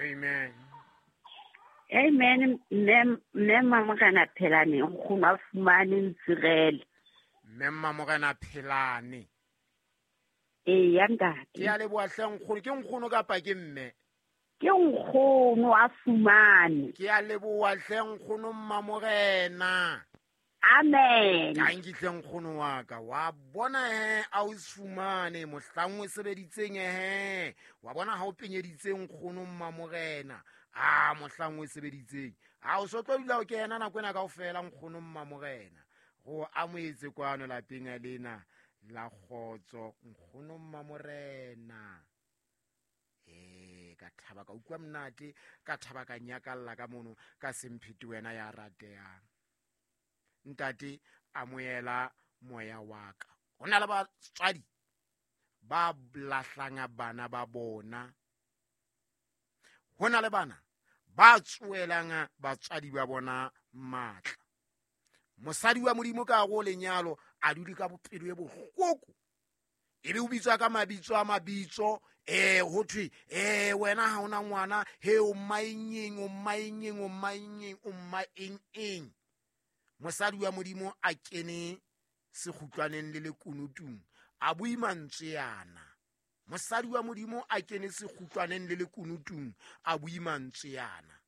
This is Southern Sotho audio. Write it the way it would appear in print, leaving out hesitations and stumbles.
Amen. Amen. Mme mme Mamorena Phelane, nkgono a fumane ntsirele. Mme Mamorena Phelane. Ee ya ntate. Ke a leboha hle nkgono. Ke nkgono kapa ke mme? Ke nkgono a fumane. Ke a leboha hle nkgono Mmamorena. Amen. Tanki hle nkgono wa ka. Wa bona he a o fumane mohlang o sebeditseng he. Wa bona ha o penyeditse nkgono Mmamorena. A mohlang o sebeditseng. A o so tlo dula o kena nako ena kaofela nkgono Mmamorena. Go amoetse kwano lapeng lena la kgotso nkgono Mmamorena. Ee, ka thaba ka utlwa monate, ka thaba ka nyakalla ka mono ka semphete wena ya ratehang. Ntate amoela moya wa ka. Ho na le batswadi ba lahlang bana ba bona. Ho na le bana ba tsoelang batswadi ba bona matla. Mosadi wa Modimo ka go lenyalo a dule ka bopelo e bohloko. Ebe o bitswa ka mabitso a mabitso, ho thwe, wena ha ona ngwana, he o mmaengeng, o mmaengeng, o mmaengeng, o mmaeng-eng. Mosadi wa Modimo a kene sekgutlwaneng le lekunutung, a bue mantswe ana. Mosadi wa Modimo a kene sekgutlwaneng le lekunutung, a bue mantswe ana.